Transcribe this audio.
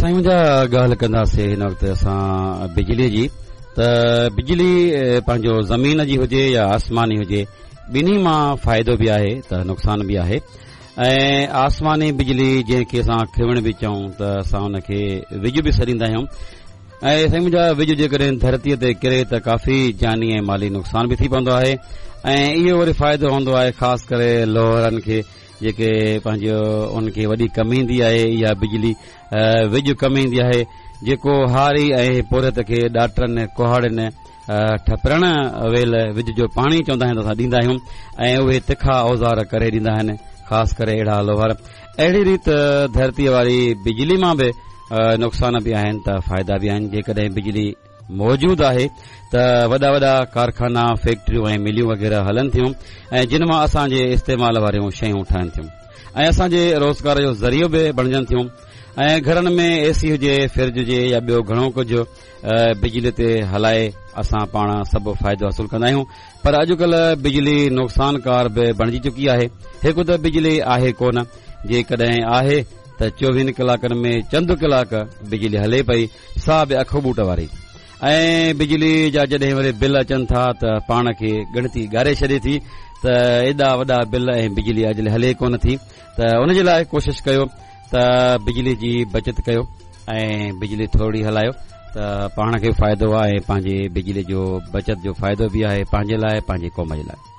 سائين منهنجا ڳالهه ڪنداسين هن وقت اسان بجلي جي ته بجلي پنهنجو زمين جي هجي يا آسماني هجي ٻنهي مان فائدو به آهي ته نقصان به آهي ۽ آسماني بجلي جنهن کي اسان کيوڻ به چئون ته اسان ان کي وڄ به سڏيندا آهيون ۽ سائين منهنجا وڄ جيڪڏهن ڌرتيء تي ڪري ته ڪافي جاني ۽ مالي نقصان به ٿي پوندو آهي ۽ اهو وري فائدو هوندو آهي خاص ڪري لوهرن کي جيڪي پنهنجو ان کي وڏي ڪم ايندي آهي اها بجلي وڄ ڪم ايندي آهي جيڪو هاري ۽ پورهيت کي ڏاٽرن ڪهاڙين ٺپرڻ ويل وڄ جو پاڻي چوندا آهن ته اسان ڏيندا آهيون ۽ اهي تکا اوزار ڪري ڏيندا آهن خاص ڪري اهڙا لوهر اهڙي ريت ڌرتيء واري بجلي مان به نقصان به آهن ته فائدا به آهن جيڪڏهن بجلي موجود آهي ته وڏا وڏا ڪارخانا، فيڪٽريون ۽ مليون وغيره هلن ٿيون ۽ جن مان اسان جي استعمال واريون شيون ٺهن ٿيون ۽ اسان جي روزگار جو ذريعو به بڻجن ٿيون ۽ گهرن ۾ اي سي هجي، فرج هجي يا ٻيو گهڻو ڪجهه بجلي تي هلائي اسان پاڻ سڀ فائدو حاصل ڪندا آهيون پر اڄڪلهه بجلي نقصانڪار به بڻجي چڪي آهي. هڪ ته بجلي آهي ڪونه، جيڪڏهن آهي ته چوويهن ڪلاڪن ۾ چند ڪلاڪ بجلي هلي پئي سا به اک ٻوٽ واري ۽ بجلي جا جڏهن وري بل اچن ٿا ته پاڻ کي ڳڻتي ڳاري ڇڏي ٿي ته ايڏا وڏا بل ۽ بجلي اڄ هلي ڪونه ٿي ته ان جي لاء ڪوشش ڪيو ته بجلي جي بچت ڪيو ۽ بجلي ٿورڙي هلايو ته پاڻ کي فائدو آهي پنهنجي بجلي جو بچت جو فائدو به آهي پنهنجي لاء پنهنجي قوم جي لاء.